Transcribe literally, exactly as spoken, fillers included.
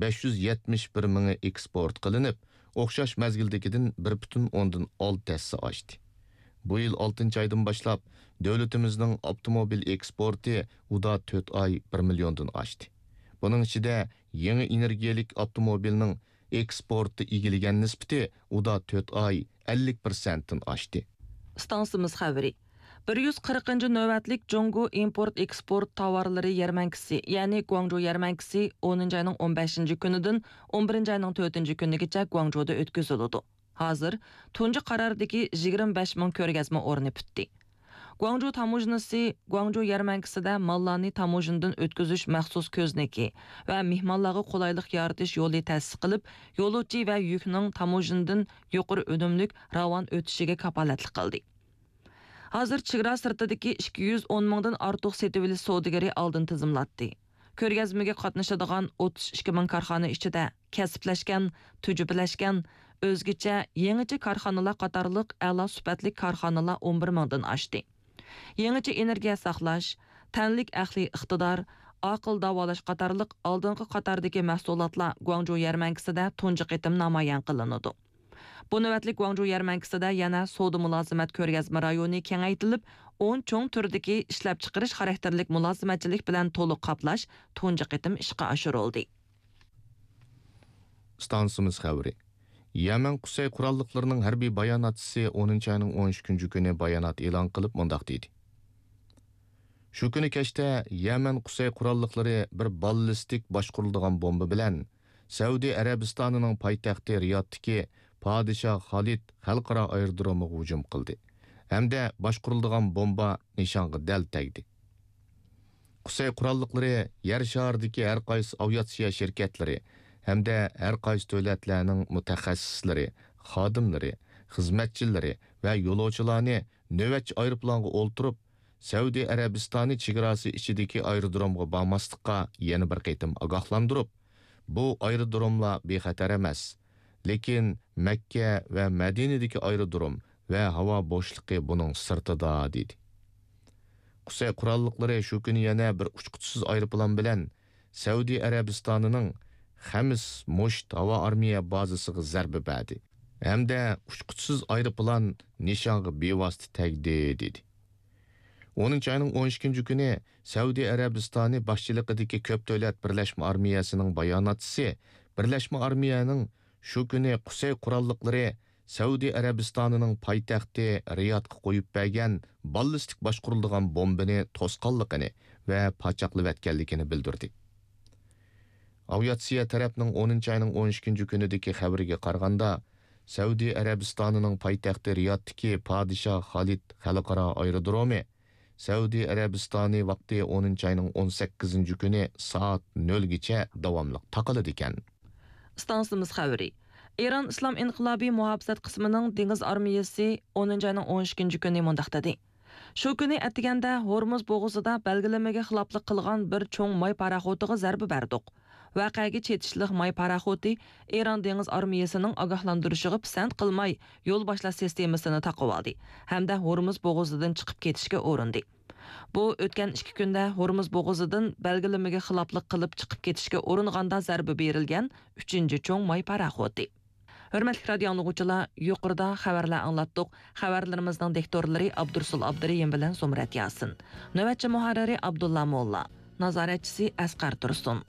بەش يۈز يەتمىش بىر مىڭى ئېكسپورت قىلىنىپ، ئوخشاش مەزگىلدىكىدىن بىر پۈتۈن ئوندىن ئالتە ھەسسە ئاشتى. بۇ يىل ئالتىنچى ئايدىن باشلاپ، دۆلىتىمىزنىڭ ئاپتوموبىل ئېكسپورتى ئۇدا تۆت ئاي بىر مىليوندىن ئاشتى. بۇنىڭ ئىچىدە يېڭى ئېنېرگىيەلىك ئاپتوموبىلنىڭ ئېكسپورتتا ئىگىلىگەن نىسبىتى ئۇدا تۆت ئاي ئەللىك پىرسەنتتىن ئاشتى. ئىستانسىمىز خەۋىرى. بىر يۈز قىرىقىنچى نۆۋەتلىك جۇڭگو ئىمپورت ئېكسپورت تاۋارلىرى يەرمەنكىسى، يەنى گۇاڭجۇ يەرمەنكىسى ئونىنچى ئاينىڭ ئون بەشىنچى كۈنىدىن ئون بىرىنچى ئاينىڭ تۆتىنچى كۈنىگىچە گۇاڭجۇدا ئۆتكۈزۈلىدۇ. ھازىر تۇنجى قاراردىكى يىگىرمە بەش مىڭ كۆرگەزمە ئورنى پۈتتى. گۇاڭجۇ تاموژنىسى گۇاڭجۇ يەرمەنكىسىدە ماللارنى تاموژنىدىن ئۆتكۈزۈش مەخسۇس كۆزنىكى ۋە مېھمانلارغا قولايلىق يارىتىش يولى تەسىس قىلىپ، يولۇچى ۋە يۈكنىڭ تاموژنىدىن يۇقىرى ئۈنۈملۈك راۋان ئۆتۈشىگە كاپالەتلىك قىلدى. ھازىر چېگرا سىرتىدىكى ئىككى يۈز ئون مىڭدىن ئارتۇق سېتىۋېلىش سودىگىرى ئالدىن تىزىملاتتى. كۆرگەزمىگە قاتنىشىدىغان ئوتتۇز ئىككى مىڭ كارخانا ئىچىدە كەسىپلەشكەن، تۈجۈپىلەشكەن، ئۆزگىچە، يېڭىچە كارخانىلار قاتارلىق ئەلا سۈپەتلىك كارخانىلار ئون بىر مىڭدىن ئاشتى. يېڭىچە ئېنېرگىيە ساقلاش، تەنلىك ئەقلىي ئىقتىدار، ئاقىل داۋالاش قاتارلىق ئالدىنقى قاتاردىكى مەھسۇلاتلار گۇاڭجۇ يەرمەنكىسىدە تۇنجى قېتىم نامايان قىلىنىدۇ. بۇ نۆۋەتلىك گۇاڭجۇ يەرمەنكىسىدە يەنە سودا مۇلازىمەت كۆرگەزمە رايونى كېڭەيتىلىپ، ئون چوڭ تۈردىكى ئىشلەپچىقىرىش خاراكتېرلىك مۇلازىمەتچىلىك بىلەن تولۇق قاپلاش تۇنجى قېتىم ئىشقا ئاشۇرۇلدى. ئىستانسىمىز خەۋىرى. يەمەن قۇسەي قوراللىقلىرىنىڭ ھەربىي باياناتچىسى ئونىنچى ئاينىڭ ئون ئىككىنچى كۈنى بايانات ئېلان قىلىپ مۇنداق دېدى: شۇ كۈنى كەچتە يەمەن قۇسەي قوراللىقلىرى بىر باللىستىك باشقۇرۇلىدىغان بومبا بىلەن سەئۇدى ئەرەبىستانىنىڭ پايتەختى رىيادتىكى پادىشاھ خالىد خەلقئارا ئايرودرومىغا ھۇجۇم قىلدى ھەمدە باشقۇرۇلىدىغان بومبا نىشانغا دەل تەگدى. قۇسەي قوراللىقلىرى يەر شارىدىكى ھەر قايسى ئاۋىئاتسىيە شىركەتلىرى ھەمدە ھەر قايسى دۆلەتلەرنىڭ مۇتەخەسسىسلىرى، خادىملىرى، خىزمەتچىلىرى ۋە يولۇچىلارنى نۆۋەتچى ئايروپىلانغا ئولتۇرۇپ، سەئۇدى ئەرەبىستانى چېگراسى ئىچىدىكى ئايرودرومغا بارماسلىققا يەنە بىر قېتىم ئاگاھلاندۇرۇپ، بۇ ئايرودروملار بىخەتەر ئەمەس، لېكىن مەككە ۋە مەدىنىدىكى ئايرودروم ۋە ھاۋا بوشلۇقى بۇنىڭ سىرتىدا، دېدى. قۇسەي قوراللىقلىرى شۇ كۈنى يەنە بىر ئۇچقۇچىسىز ئايروپىلان بىلەن سەئۇدى ئەرەبىستانىنىڭ خەمس مۇشت ھاۋا ئارمىيە بازىسىغا زەربە بەردى ھەمدە ئۇچقۇچىسىز ئايروپىلان نىشانغا بىۋاسىتە تەگدى، دېدى. ئونىنچى ئاينىڭ ئون ئىككىنچى كۈنى سەئۇدى ئەرەبىستانى باشچىلىقىدىكى كۆپ دۆلەت بىرلەشمە ئارمىيەسىنىڭ باياناتچىسى بىرلەشمە ئارمىيەنىڭ شۇ كۈنى قۇسەي قوراللىقلىرى سەئۇدى ئەرەبىستانىنىڭ پايتەختى رىيادقا قويۇپ بەرگەن باللىستىك باشقۇرۇلىدىغان بومبىنى توسقانلىقىنى ۋە پاچاقلىۋەتكەنلىكىنى بىلدۈردى. ئاۋىئاتسىيە تەرەپنىڭ ئونىنچى ئاينىڭ ئون ئىككىنچى كۈنىدىكى خەۋىرىگە قارىغاندا، سەئۇدى ئەرەبىستانىنىڭ پايتەختى رىيادتىكى پادىشاھ خالىد خەلقئارا ئايرودرومى سەئۇدى ئەرەبىستانى ۋاقتى ئونىنچى ئاينىڭ ئون سەككىزىنچى كۈنى سائەت نۆلگىچە داۋاملىق تاقىلىدىكەن. ئىستانسىمىز خەۋىرى. ئىران ئىسلام ئىنقىلابىي مۇھاپىزەت قىسمىنىڭ دېڭىز ئارمىيەسى ئونىنچى ئاينىڭ ئون ئىككىنچى كۈنى مۇنداق دېدى: شۇ كۈنى ئەتىگەندە ھورمۇز بوغۇزىدا بەلگىلىمىگە خىلاپلىق قىلغان بىر چوڭ ماي پاراخوتىغا زەربە بەردۇق. ۋەقەگە چېتىشلىق ماي پاراخوتى ئىران دېڭىز ئارمىيەسىنىڭ ئاگاھلاندۇرۇشىغا پىسەنت قىلماي، يول باشلاش سىستېمىسىنى تاقىۋالدى ھەمدە ھورمۇز بوغۇزىدىن چىقىپ كېتىشكە ئۇرۇندى. بۇ ئۆتكەن ئىككى كۈندە ھورمۇز بوغۇزىدىن بەلگىلىمىگە خىلاپلىق قىلىپ چىقىپ كېتىشكە ئۇرۇنغاندا زەربە بېرىلگەن ئۈچىنچى چوڭ ماي پاراخوتى. ھۆرمەتلىك رادىيو ئاڭلىغۇچىلار، يۇقىرىدا خەۋەرلەر ئاڭلاتتۇق. خەۋەرلىرىمىزنىڭ دىكتورلىرى ئابدۇرۇسۇل ئابدۇرېھىم بىلەن زۇمرەت ياسىن. نۆۋەتچى مۇھەررىرى ئابدۇللا موللا. نازارەتچىسى ئەسقەر تۇرسۇن.